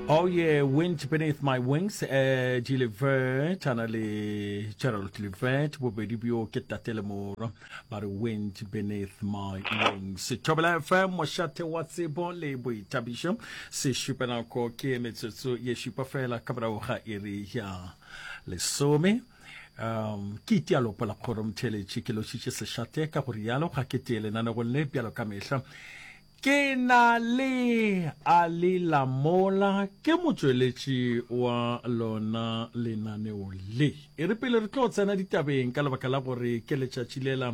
Oh yeah, Wind Beneath My Wings, eh, G Levert, a na le Gerald Levert, bobedi bjo ke tate le morwa, ba re Wind Beneath My Wings. Thobela FM, mošate wa tsebo le boithabišo, sešupanako ke metsotso ye šupa fela ka morago ga iri ya lesome. Um, ke itia lopo la kgoro motheeletši, ke lošitše sešate ka go rialo, ga ke tee lenanegong le bjalo ka mehla. Ke na le Ali Lamola, ke motšweletši wa lona lenaneo le. E re pele re tlo tsena ditabeng ka lebaka la gore ke letšatši lela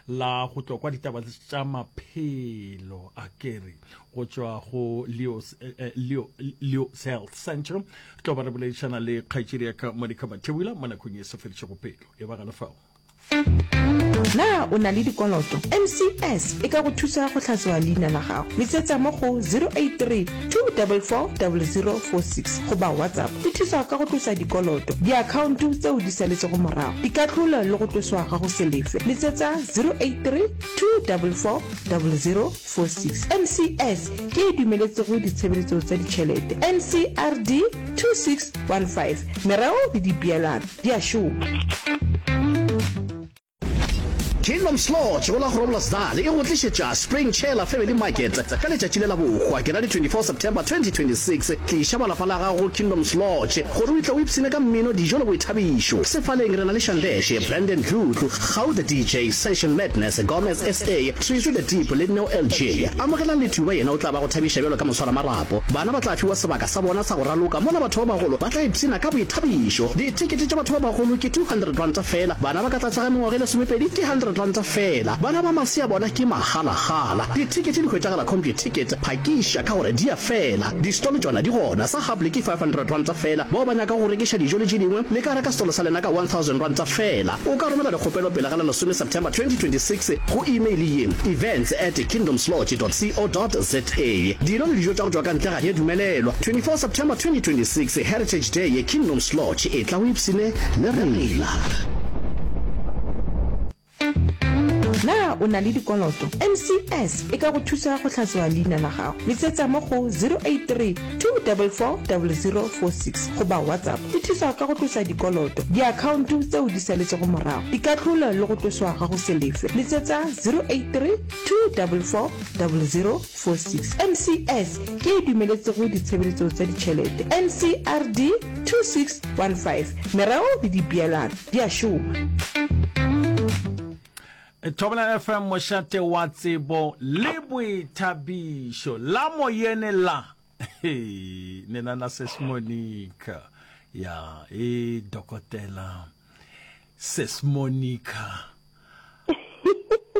la go tlo kwa ditaba tša maphelo a kere go tšwa go Leo's, eh, eh, Leo, Leo's Health Center. Re tlo ba re boledišana le kgaetšedi ya ka Monica Mathebula mo nakong e sa fedišego pelo. E ba gana fao. Na o na le dikoloto? MCS e ka go thusa go hlatswa leina la gago. Letsetsa mo go 083 244 0046 goba WhatsApp. E thusa ka go tlosa dikoloto, diakhaonto tseo di saletšego morago, dikahlolo le go tloswa ga go se lefe. Letsetsa 083 244 0046. MCS ke e dumeletsego ditshebeletso tsa ditšhelete. NCRD 2615. Mereo le dipeelano. di a šoma. Kingdoms Lodge go la Groblersdal e go tlišetša Spring Chela Family Market ka letšatši le la bohwa ke la di 24 September 2026. Tliša ba lapa la gago go Kingdoms Lodge gore o tle o ipshine ka mmino, dijo le boithabišo. Sefaleng re na le Shandeshe, Brandon Dludlu, Gau the DJ, Session Madness, Gomez SA, Trizu the Deep le Neo LJ. Amogelang Lethuba yena o tla ba go thabiša bjalo ka moswaramarapo. Bana ba tla fiwa sebaka sa bona sa go raloka mola batho ba bagolo ba tla ipshina ka boithabišo. Dithekete tša batho ba bagolo ke R200 feela, bana ba ka tlase ga mengwaga e lesomepedi ke R100 feela, bana ba masea bona ke magalagala. Dithekete di hwetšagala Computicket, phakiša ka gore di a fela. Di-stall tšona di gona, sa Hubley ke R500 feela, bao ba nyakago go rekiša dijo le tše dingwe le ka reka stall sa lena ka R1000 feela. O ka romela dikgopelo pele ga la lesome September 2026 go email ye, events at kingdomslodge dot co dot za. Dino le dijo tša go tšwa ka ntle ga di a dumelelwa. 24 September 2026, Heritage Day ye Kingdoms Lodge, etla o ipshine le rena. Na o na le dikoloto? MCS e ka go thusa go hlatswa leina la gago. Letsetsa mo go 083 244 0046 goba WhatsApp. E thusa ka go tlosa dikoloto, diakhaonto tseo di saletšego morago, dikahlolo le go tloswa ga go se lefe. Letsetsa 083 244 0046. MCS ke e dumeletsego ditshebeletso tsa ditšhelete. NCRD 2615. Mereo le dipeelano di a šoma. Thobela FM mošate wa tsebo le boithabišo la moyene la nena na Sis Monica ya e dokotela Sis Monica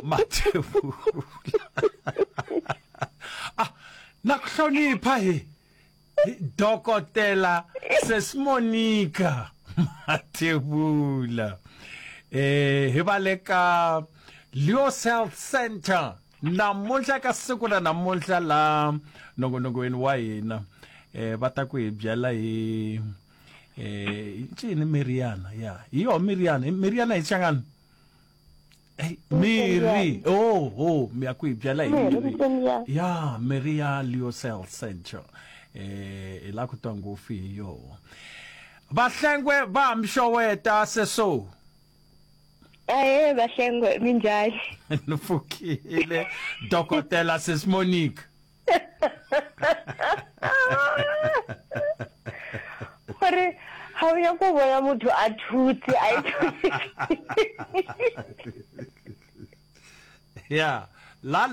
Mathebula ah na kuhlonipha he Dokotela Sis Monica Mathebula eh he ba le ka Leos Health Center namuntlha ka siku ra namuntlha la nongonokweni wa hina eh va ta ku hi byela hi eh ncini miriana ya hi yo miriana miriana hi changani Hey, miri oh oh mi ya ku hi byela hi miri ya miri ya Leos Health Center eh hi la ku twa ngopfu hi yoho vahlengwe va mxoweta seso Ae Bahlengwe minjhani? Ni pfukile Dokotela Sis Monique. Gore ga o ya ko bona motho a thutse a e Ya la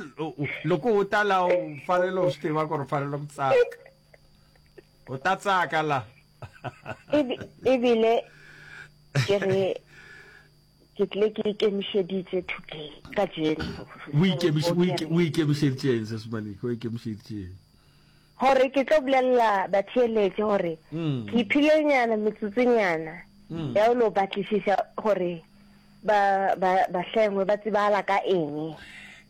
loko u ta la u fanele u swi tiva ku ri fanele ku tsaka. U ta tsaka la. Ebile ke re ke tle ke ikemišeditše today ka jeno. O ikemišeditšeng se Semaleke o ikemišeditšeng? Gore ke tlo bolelela batheeletši gore mm. ke iphilenyana metsotsonyana mm. ya o lo batlišiša gore ba ba bahlengwe ba tsebala ka eng.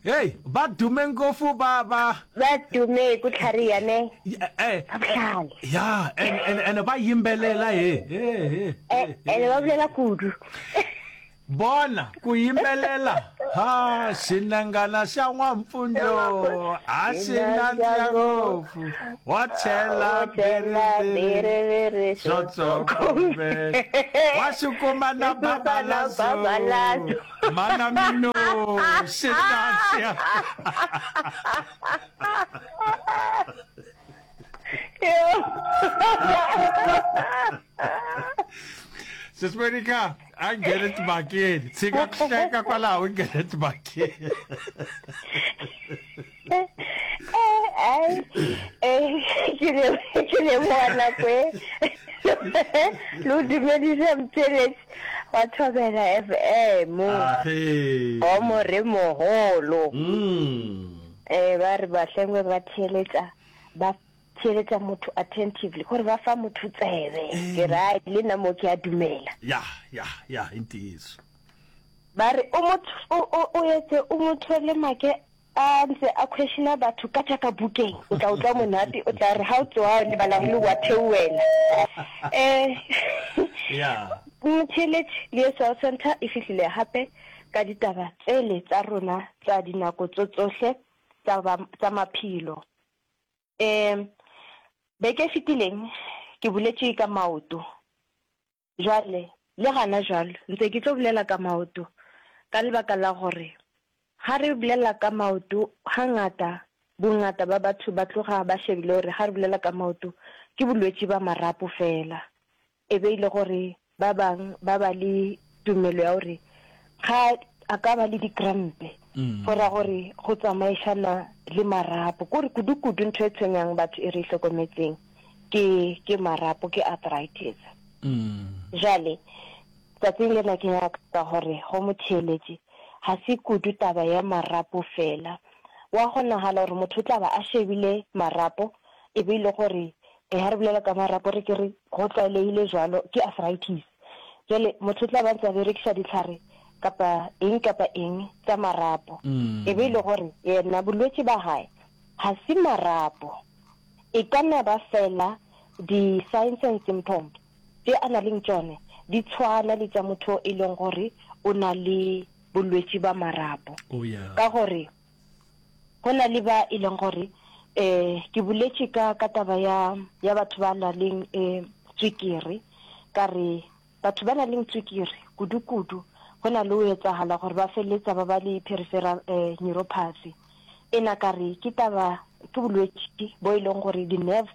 Hey, ba dume ngopfu ba ba ba dume ku tlhariha ne eh ba bohlale ya and and and ba yimbelela he he he eh, and ba bolela kudu. Bona ku yimbelela ha xinengana xa n'wampfundlo a xi nandziha ngopfu wa chela biriviri swo tsokombela wa xi kuma na babalazo mana mino xi nandziha. Sis Monica, a nghene timhakeni. Tshika ku hleka kwalaho u nghene timhakeni. Ai, eh, ke le ke leboga nako e le o dumedisa motšweletši wa Thobela FM Age. wa moremogolo. Mm. Eh, ba re bahlengwe ba theeletša ba theeletša motho attentively, gore ba fa motho tsebe. Ke re, ai, le nna mo ke a dumela. Ya, ya, ya, i ntiyiso. Ba re, o mo, o, o, o etse, o mo thole make a ntse a questiona batho ka tša ka bukeng. O tla utlwa monate, o tla re ha o tsoga o lebala le wa theoela. Eh, Ya. Motheeletši, le Cell Center e fihlile gape ka ditaba tsele tsa rona tsa dinako tso tsohle tsa, ba, tsa maphelo. Um beke e fetileng ke boletše ka maoto. Jwale le gana jwalo ntse ke tlo bolela ka maoto ka lebaka la gore ga re bolela ka maoto hangata bongata ba batho ba tloga ba shebile gore ga re bolela ka maoto ke bolwetši ba marapo fela. E be e le gore ba bang ba ba le tumelo ya gore ga a ka ba le dikrampe go ra gore go tsamaišana le marapo. Kore kudu-kudu ntho e tshwenyang batho e re e hlokometseng ke ke marapo, ke arthritis. Jwale tsatsing lena ke nyaka gore go motheeletše ga se kudu taba ya marapo fela. Wa kgonagala gore motho o tla ba a shebile marapo e be e le gore Ee, ha re bolela ka marapo re ke re go tlwaelegile jwalo ke arthritis. Jwale motho o tla ba ntse a berekisa ditlhare kapa eng kapa eng tsa marapo. E be e le gore yena bolwetši ba hae ga se marapo. E ka nna ba fela di-signs and symptoms tše a na leng tšone di tshwana le tša motho e leng gore o na le bolwetši ba marapo. Oh, yeah. Ka gore Go na le ba e leng gore um ke boletše ka ka taba ya ya batho ba na leng um tswikiri, ka re batho ba na leng tswikiri kudu-kudu go na le o etsagala gore ba feleletsa ba ba le peripheral um neuropathy. Ena ka re ke taba ke bolwetši bo e leng gore di-nerves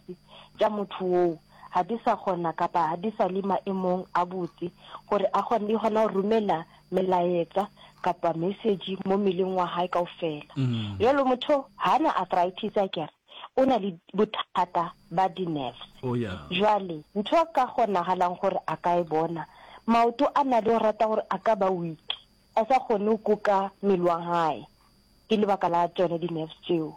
tša motho woo ga di sa kgona kapa ga di sa le maemong a botse gore a kgone di kgona go romela melaetsa kapa message mo mmeleng wa hae kaofela. Jwalo motho ha na arthritis akere, o na le bothata ba di-nerves. Oh yeah. Jwale ntho a ka kgonagalang gore a ka e bona, maoto a na le go rata gore a ka ba weak, a sa kgone go kuka mmele wa hae ke lebaka la tšone di-nerves tšeo.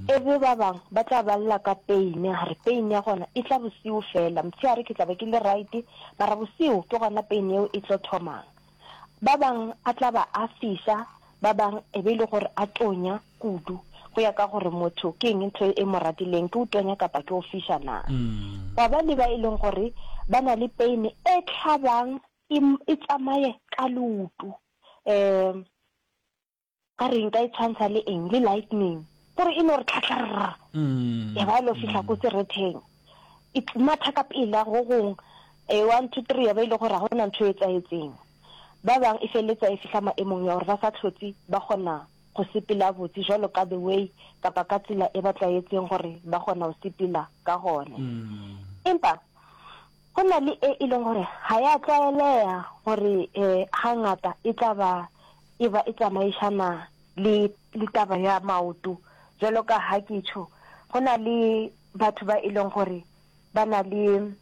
E be ba bang ba tla ba lla ka pain, a re pain ya gona e tla bosiu fela, motshehare ke tla be ke le right, mara bosiu ke gona pain yeo e tlo thomang. Ba bang a tla ba a fiša, ba bang e be e le gore a tonya kudu, go ya ka gore motho ke eng ntho e mo ratileng, ke o tonya kapa ke o fiša na. Gwa ba le ba e leng gore ba na le pain e hlabang e, e tsamaye ka leoto, um Ka re nka e tshwantsha le eng? Le lightning. Gore e no re tlhatlharra. Ya ba lo fihla ko seretheng. E matha ka pela go gong. E, one, two, three, ya ba e le gore ga gona ntho e etsahetseng. Ba bang e feleletsa e fihla maemong ya gore ba sa hlotse ba kgona go sepela botse jwalo ka the way kapa ka tsela e ba tlwaetseng gore ba kgona go sepela ka gone. Empa Go na le e e leng gore ga ya tlwaeleya gore hangata e tla ba e ba e tsamaišana le le taba ya maoto. Bjalo ka ha ke tšho, go na le batho ba e leng gore ba na le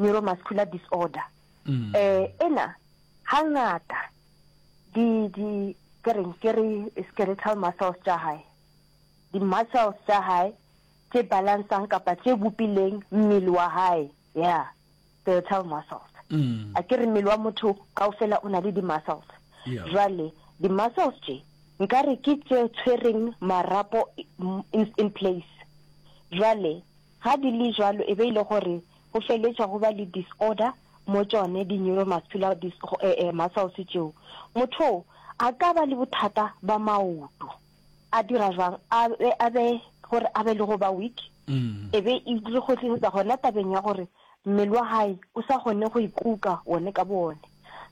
neuromuscular disorder. Ena hangata di di ke reng ke re skeletal muscles tša hae, di-muscles tša hae tše balansang kapa tše bopileng mmele wa hae, yeah, skeletal muscles. A ke re mmele wa motho kaofela o na le di-muscles. Yeah. Jwale di-muscles tše nka re ke tše tshwereng marapo in, in place. Jwale ga di le jwalo e be e le gore go feletša go ba le disorder. mo tšone di-neuromuscular muscles tšeo, motho a ka ba le bothata ba maoto. A dira jwang? A be, a be, gore a be le go ba weak, e be e re kgotlisetsa gona tabeng ya gore mmele wa hae o sa kgone go ikuka wone ka bowone.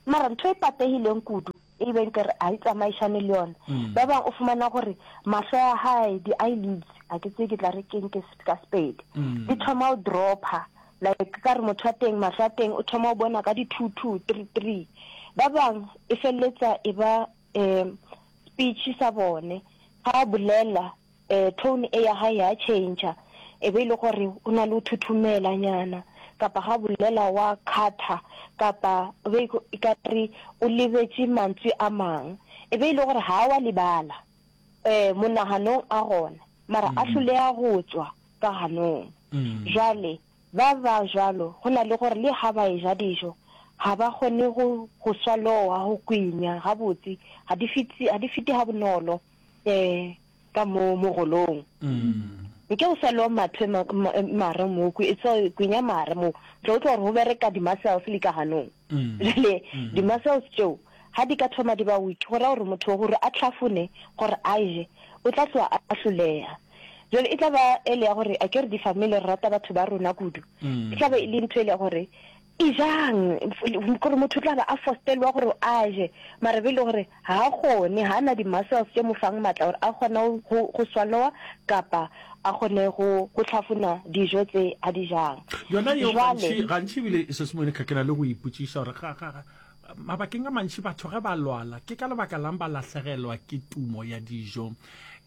Mara ntho e pategileng kudu, e be nkare ga e tsamaišane le yona, ba bang o fumana gore mahlo a hae, di-eyelids, ga ke tsebe ke tla re keng ke ka Sepedi, di thoma go dropper, like ka re motho wa teng mahlo a teng o thoma go bona ka di-two two, three three. Ba bang e feleletsa e ba um speech sa bone ga a bolela um tone e ya gae ya change e be e le gore o na le o thuthumela nyana kapa ga bolela wa kgatha kapa e be e ka re o lebetše mantswe a mang e be e le gore ga wa lebala um monaganong a gona mara a hloleya go tswa ka ganong jwale Ba ba bjalo go na le gore le ga ba eja dijo, ga ba kgone go, go swalowa, go kwinya gabotse, ga di fete, ga di fete gabonolo um ka mo mogolong. Nke o swalowa mathwe ma, ma, mare mo, kwi, so, kwinya mare mo, tlo utlwa gore go bereka di-muscles le ka ganong. Jale di-muscles tšeo ga di ka thoma di ba weak, go ra gore motho gore a hlafune, gore a je, o tla tloga a hloleha. Jale e tla ba ele ya gore, akere di-family re rata batho ba rona kudu, e tla ba e le ntho ele ya gore e jang, gore motho o tla ba a fostelwa gore a je, mara be e le gore ga a kgone, ga a na di-muscles tše mo fang matla gore a kgone go, go swallowa kapa a kgone go, go hlafuna dijo tse a di jang. Yona yeo Jwale. gantši, gantši ebile Sis Monica ke na le go ipotšiša gore ga, ga, ga, mabakeng a mantši batho ge ba lwala ke ka lebaka lang ba lahlegelwa ke tumo ya dijo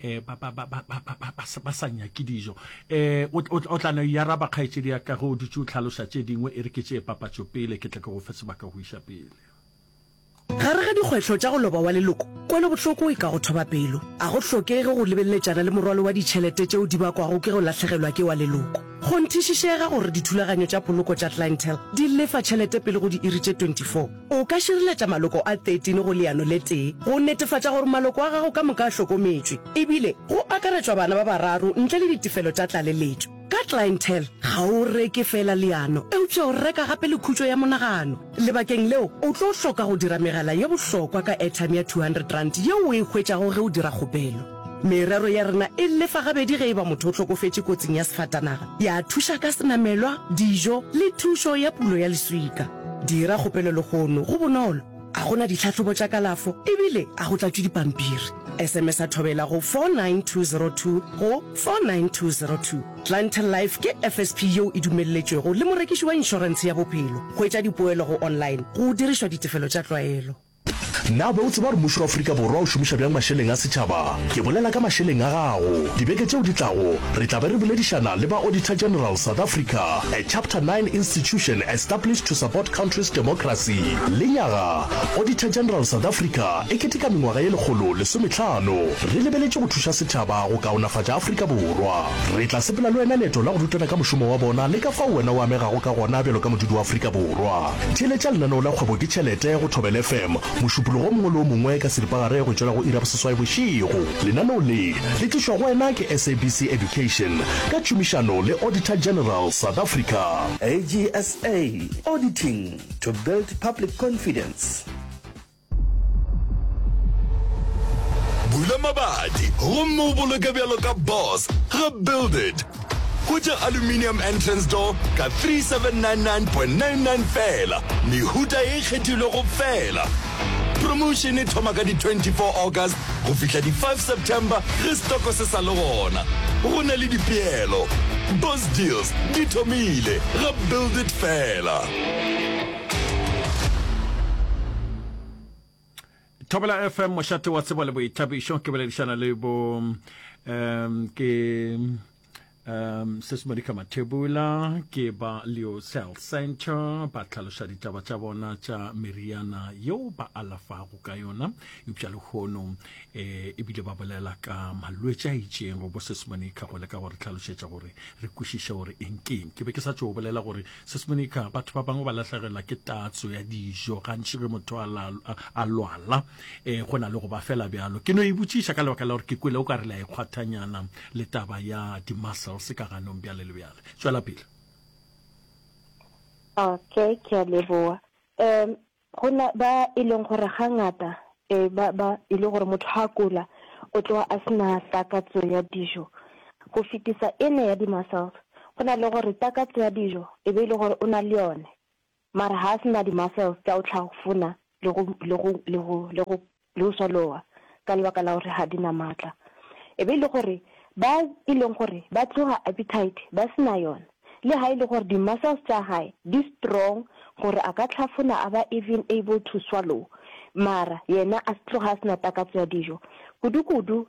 eh, ba, ba, ba, ba, ba, ba, ba, ba, ba sa nyake dijo eh, o, o, o tla no e araba kgaetšedi ya ka ge o dutše o hlaloša tše dingwe e re ke tšee papatšo pele ke tle ke go fe sebaka go iša pele. Gare ga dikgwehlo tša go loba wa leloko, kwelobohloko e ka go thoba pelo. A go hlokege go lebeletšana le morwalo wa ditšhelete tšeo di bakwago ke go lahlegelwa ke wa leloko. Kgonthišišega gore dithulaganyo tša poloko tša Clientele di lefa tšhelete pele go diiri tše 24. O ka šireletša maloko a 13 go leano le tee go netefatša gore maloko a gago ka moka a hlokometšwe, ebile go akaretšwa bana ba bararo ntle le ditefelo tša tlaleletšo. Ka Clientele, ga o reke feela leano, eupša o reka gape le khutšo ya monagano. Lebakeng leo, o tlo hloka go dira megala ye bohlokwa ka airtime ya R200 yeo o e hwetšago ge o dira kgopelo. Merero ya rena e lefa gabedi ge e ba motho o hlokofetše kotsing ya sefatanaga, ya thuša ka senamelwa, dijo le thušo ya pulo ya leswika. Dira kgopelo lehono, go bonolo, ga go na ditlhahlobo tša kalafo ebile ga go tlatšwe dipampiri. SMS-a Thobela go 49202 go 49202. Clientele Life ke FSP yeo e dumelletšwego le morekiši wa inšorentshe ya bophelo. Hwetša dipoelo go online go dirišwa ditefelo tša tlwaelo. Na o be o tseba gore mmušo wa Afrika Borwa o šomiša bjang mašeleng a setšhaba? Ke bolela ka mašeleng a gago. Dibeke tšeo di tlago, re tla be re boledišana le ba Auditor General South Africa, a Chapter 9 institution established to support country's democracy. Lenyaga, Auditor General South Africa e keteka mengwaga ye 150 re lebeletše go thuša setšhaba go kaonafatša Afrika Borwa. Re tla sepela le wena leeto la go rutana ka mošomo wa bona le ka fao wena o amegago ka gona bjalo ka modudi wa Afrika Borwa. Theeletša lenaneo la Kgwebo ke Tšhelete go Thobela FM Mošupologo o mongwe le o mongwe ka seripagare go tšwela go iri ya boseswai bošego. Lenaneo le le tlišwa go wena ke SABC Education ka tšhomišano le Auditor General South Africa. AGSA, Auditing to build public confidence. Bula mabati gomme o boloke bjalo ka boss ga Build It. Hwetša aluminium entrance door ka 3799.99 feela, mehuta ye e kgethilwego feela. Promotion e thoma ka di 24 August go fihla di 5 September ge stoko se sa le gona. Go na le dipeelo. Boss deals di thomile ga Build It feela. Thobela FM mošate wa tsebo le boithabišo ke boledišana le bo um ke um Sis Monica Mathebula ke ba Leo Cell Center ba hlaloša ditaba tša bona tša meriana yeo ba alafago ka yona eupša lehono um ebile ba bolela ka malwetši a itšeng go bo Sis Monica go leka gore hlalošetša gore re kwešiše gore eng keng ke be ke sa tšo bolela gore Sis Monica, batho ba bangwe ba lahlegelwa ke tatso ya dijo gantši ge motho a, la, a lwala eh, go na le go ba fela bjalo. Ke no e botšiša ka lebaka la gore ke kwele o ka re le a ikgwathanyana le taba ya di-muscles ka ganong bjale le bjale. Tšwela pele. Okay, ke a leboa. Um go na ba e leng gore ga ngata e ba ba e le gore motho ha kula o tloga a sena takatso ya dijo go fetisa ene ya di-muscles. Go na le gore takatso ya dijo e be e le gore o na le yone mara ha a sena di-muscles tša go hlafuna le go le go le go le go le go swalowa ka lebaka la gore ga di na maatla. E be e le gore ba e leng gore ba tloga appetite ba se na yona, le ga e le gore di-muscles tša gae di strong gore a ka hlafuna a ba even able to swallow, mara yena a tloga a se na takatso ya dijo. Kudu-kudu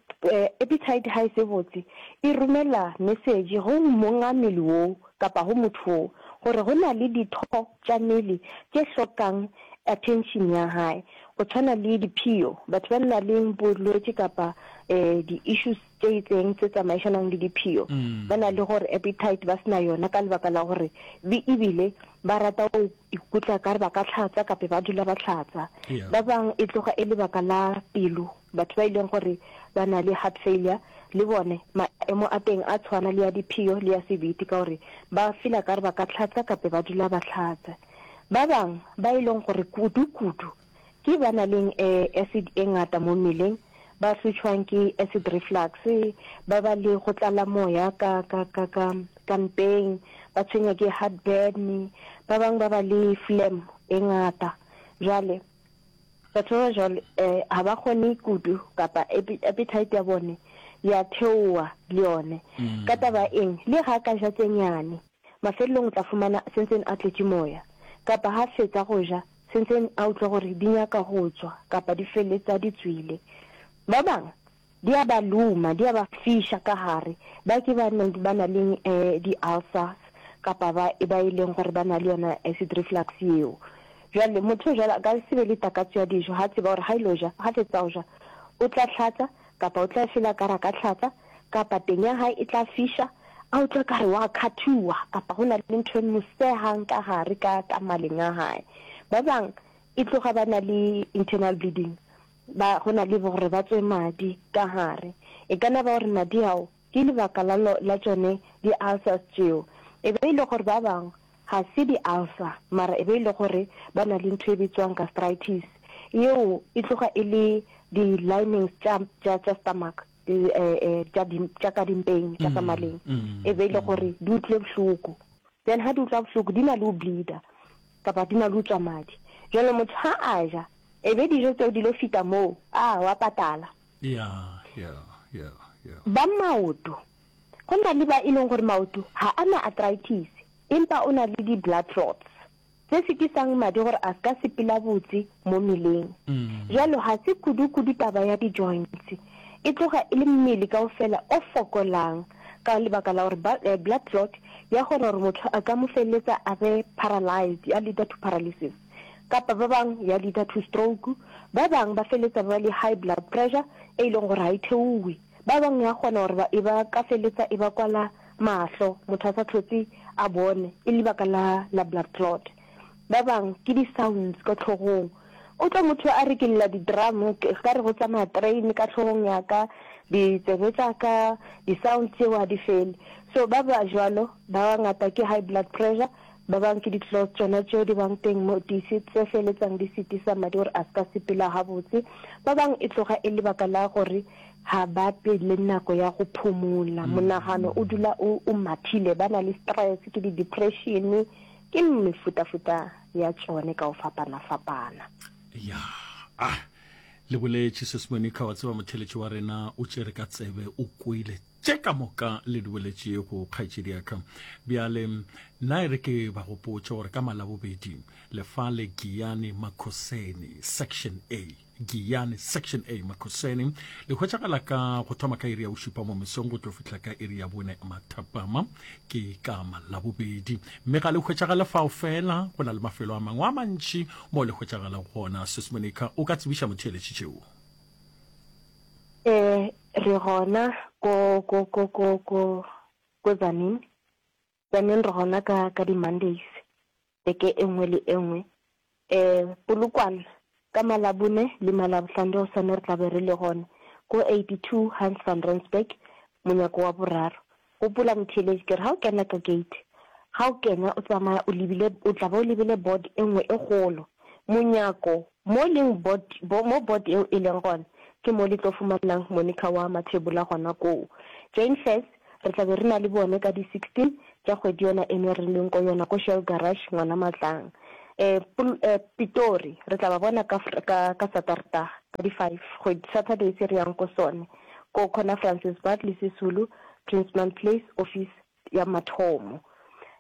appetite ga e se botse e romela message go monga mmele woo kapa go motho woo gore go na le ditho tša mmele tše hlokang attention ya gae. Go tshwana le diphio, batho ba na leng bolwetši kapa di-issues tše itseng tse tsamaišanang le diphio, ba na le gore appetite ba se na yona ka lebaka la gore be ebile ba rata go ikutla ka re ba ka hlatsa kape ba dula ba hlatsa. Ba bang e tloga e lebaka la pelo, batho ba e leng gore ba na le heart failure le bone maemo a teng a tshwana le ya diphio le ya sebete ka gore ba feel-a ka re ba ka hlatsa kape ba dula ba hlatsa. Ba bang ba e leng gore kudu-kudu ke ba na leng acid e ngata mo mmeleng, ba hlotšhwang ke acid reflux, ba ba le go tlala moya ka, ka, ka, ka, ka mpeng, ba tshwenya ke heartburn, ba bang ba ba le phlegm e ngata. Jwale, batho ba ba jwalo ga ba kgone kudu kapa appetite ya bone ya theoha le yone. Ka taba eng? Le ga a ka ja tse nyane, Mafelelong o tla fumana sentseng a tletše moya. Kapa ha fetsa go ja, sentseng a utlwa gore di nyaka go tswa kapa di feletsa di tswile. Ba bang di a ba loma, di a ba fiša ka gare. Ba ke ba neng ba na le di-ulcers kapa ba ba e leng gore ba na le yona acid reflux yeo. Jwale motho o jwalo a ka se be le takatso ya dijo ha tseba gore ha ilo ja, ha fetsa go ja o tla hlatsa kapa o tla feel-a ka re a ka hlatsa kapa teng ya hae e tla fiša, a utlwa ka re wa khathuwa kapa go na le ntho e mo sehang ka gare ka ka maleng a hae. Ba bang e tloga ba na le internal bleeding, ba go na le gore ba tswe madi ka gare. E ka na ba gore madi ao ke lebaka la la tšone di-ulcers tšeo. E be e le gore ba bang ga se di-ulcer mara e be e le gore ba na le ntho e bitswang gastritis, yeo e tloga e le di-linings tša tša tša stomach. tša tša ka dimpeng tša ka maleng e be e le gore di utlwile bohloko then ha di utlwa bohloko di na le go bleeder kapa di na le go tswa madi jalo motho ha a ja e be dijo tseo di lo fita moo a wa patala yeah yeah yeah yeah ba maoto go na le ba e leng gore maoto ha a na arthritis empa o na le di blood clots se setisang madi gore a se ka sepela botse mo mmeleng. Bjalo ga se kudu-kudu taba ya di-joints, e tloga e le mmele kaofela o fokolang ka lebaka la gore blood clot ya kgona gore motho a ka mo feleletsa a be paralyzed, ya leader to paralysis, kapa ba bang ya leader to stroke, ba bang ba feleletsa ba ba le high blood pressure e leng gore ga e theowe. Ba bang ya kgona gore ba e ba ka feletsa e ba kwala mahlo, motho a sa hlotse a bone, e le lebaka la la blood clot. Ba bang ke di sounds ka hlogong. O tlo motho a re ke lla di drum, ka re go tsamaya train ka hlogong ya ka, ditsebe tša ka, di sounds tšeo ga di fele. So ba ba jwalo ba bangata ke high blood pressure, ba bang ke di clots tšona tšeo di bang teng mo di tse feletsang di sitisa madi gore a se ka sepela gabotse. Ba bang e tloga e lebaka la gore ga ba be le nako ya go phomola, monagano o dula o o mathile, ba na le stress, ke di-depression, ke mefutafuta ya tšone ka go fapana-fapana. Ya, ah, le boletše Sis Monica, wa tseba motheletši wa rena o tšere ka tsebe, o kwele tše ka moka le di boletšego, kgaetšedi ya ka. Bjale, nna e re ke ba gopotše gore ka Malabobedi, Lefale Giyani Makhoseni, Section A, Giyani Section A Makhoseni le hwetšagala ka go thoma ka iri ya bošupa mo mesong go tlo fihla ka iri ya bone mathapama ke ka malabobedi mme ga le hwetšagale fao fela go na le mafelo a mangwe a mantši mo le hwetšagala gona. Sis Monica o ka tsebiša motheeletši tšeo? Eh re gona ko ko ko ko ko ko Tzaneen. Tzaneen re gona ka ka di Mondays beke e nngwe le e nngwe. Polokwane, ka Malabone le Malabohlano le hosane re tla be re le gona ko 82 Hans van Rensburg, monyako wa boraro. Gopola motheeletši ke re ga o kena ka gate, Ga o kena o tsamaya o lebile, o tla ba o lebile board e nngwe e kgolo. Monyako, mo leng board, bo, mo board eo e leng gona, ke mo le tlo fumanang Monica wa Mathebula gona koo. Jane Furse, re tla be re na le bone ka di 16 tša kgwedi yona eno re leng ko yona ko Shell Garage, Ngwana Matlang. Eh, Pol, eh, Pitori, re tla ba bona ka, ka, ka Satertaga, ka di five, kgwedi, Saturday se re yang ko sone, ko corner Francis Bartley Sisulu, Princeman Place office ya mathomo.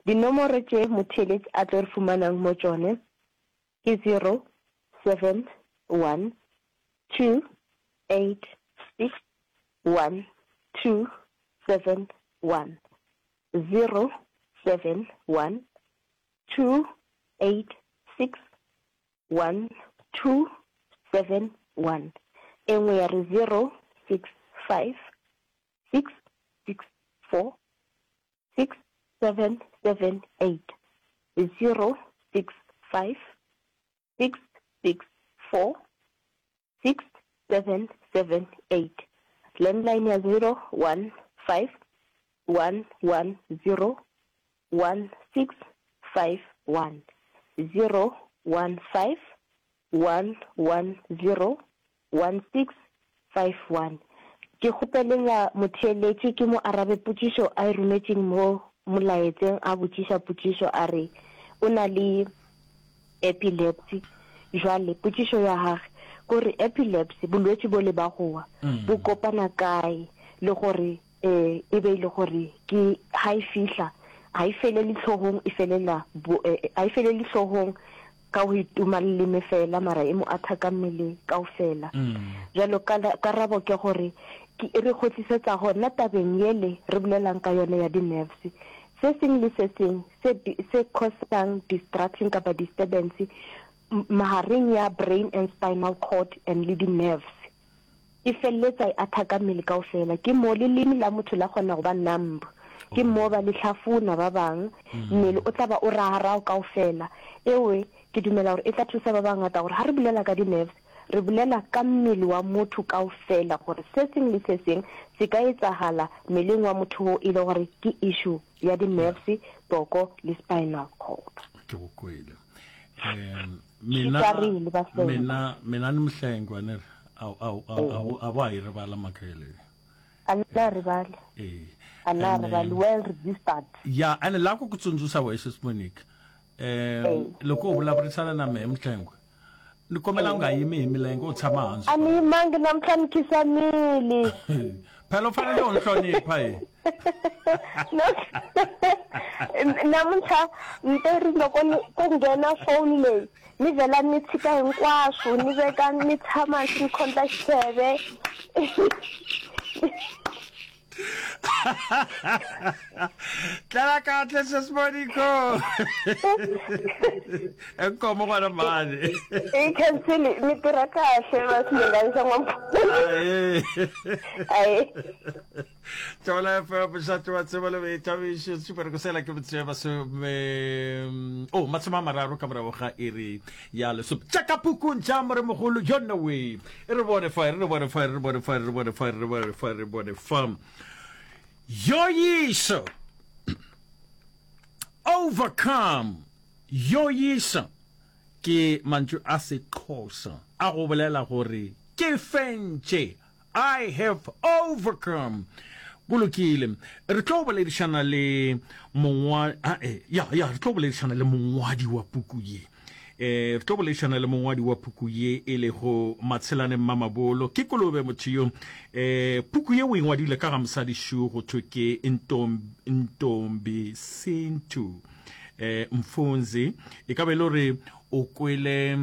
Dinomoro tše motheeletši a tlo re fumanang mo tšone ke 0, 7, 1, 2, 8, 6, 1, 2, 7, 1, 0, 7, 1, 2, 8, 6, 1, 2, 7, 1. E nngwe ya re 0, 6, 5, 6 6 4 6 7 7 8 0 6 5 6 6 4 6 7 7 8 Landline ya 0 1 5 1 1 0 1 6 5 1 0 1 5 1 1 0 1651. Ke kgopelela motheeletši ke mo arabe potšišo a e rometšeng mo molaetseng a botšiša potšišo a re o na le epilepsy. Jwale potšišo ya gage ko re epilepsy bolwetši bole ba go wa bo kopana kae le gore e e be e le gore ke ga e fihla ga e felele hlogong e felela ga e felele hlogong ka go itoma leleme fela mara e mo athaka mmele kaofela. Bjalo karabo ke gore ke e re kgotlisetsa gona tabeng yele re bolelang ka yone ya di-nerves. Se seng le se seng se se cause-ang distraction kapa disturbance mahareng ya brain and spinal cord and le di-nerves E feleletsa e athaka mmele kaofela. Ke moo leleme la motho la kgona go ba numb. Ke moo ba le hlafuna ba bang. Mmele o tla ba o ragarao kaofela. Ewe, ke dumela gore e tla thusa ba bangata gore ha re bolela ka di-nerves, re bolela ka mmele wa motho kaofela gore se seng le se seng se ka etsahala mmeleng wa motho wo e le gore ke issue ya di-nerves, boko le spinal cord. Ke go kwele. Um, mina mina mina ni mhlengwa ne a ba yi rivala mhaka yeleyo a na rivali eh a na rivali well registered ya ene la ku ku tsundzuxa wexe sis Monique um loko u vulavurisana na mehe mhlengwa ni kombela u nga yimi hi milenge u tshama hansi a ni yimangi namuntlha ni khisamile phela u fanele u ni hlonipha hi namuntlha ni te ri loko ni ku nghena phone leyi ni vhela ni tshika hinkwaswo ni veka ni tshama hansi ni khondla xitheve Tlela kahle sesiboniko. Enkomo ngwana mani. I khensile mi tirha kahle va swilinganisa n'wampfula. Ayi. Thola FM mošate wa tsebo le boithabišo super go sela ke motse masome o masome a mararo ka morago ga iri ya lesome tša ka pukung tša moremogolo yona we E re bone fa, e re bone fa, e re bone fa, e re bone fa, e re bone fa, e re bone fa. Yoyiso. Overcome. Yoyiso. Ke mantšu a Sexhosa a go bolela gore ke fentše. I have overcome. Go lokile. Re tlo boledišana le mongwa ah, eh, ya ya re tlo boledišana le mongwadi wa puku ye. Eh, re tlo boledišana le mongwadi wa puku ye e lego Matshelane Mmamabolo. Ke kolobe motho yo. Eh, puku ye o e ngwadile ka ga mosadi šo go thwe ke Ntombi Sintu. Eh, Mfunzi e ka be e le gore O kwele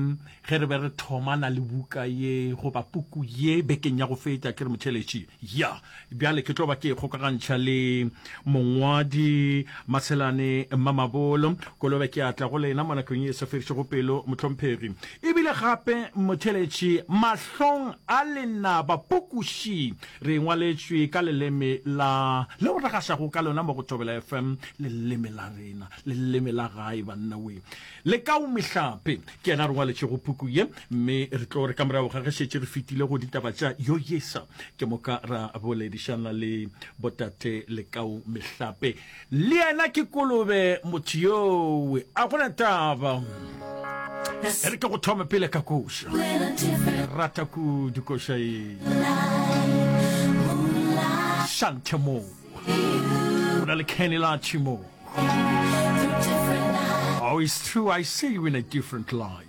ge re be re thomana le buka ye goba puku ye bekeng ya go feta, ke re motheeletši, ya. Bjale ke tlo ba ke kgokagantšha le mongwadi Matshelane Mamabolo. Kolobe ke a tla go lena mo nakong ye e sa fedišego pelo, mohlomphegi. Ebile. Ebile gape motheeletši mahlong a lenaba pukuši re e ngwaletšwe ka leleme la leo re gašago ka lona mo go Thobela FM, leleme la rena, leleme la gae banna we. Lekau Mehlape ke yena a re ngwaletšego puku ye, mme re tlo re ka morago ga ge šetše re fetile go ditaba tša Yoyesa, ke moka ra boledišana le botate Lekau Mehlape. Le yena ke kolobe motho yowe, a gona taba. E re ke go thome pele ka koša. Ke rata kudu koša ye. Shante mo. Go na le Kenny Lachi mo. Oh, it's true, I see you in a different light.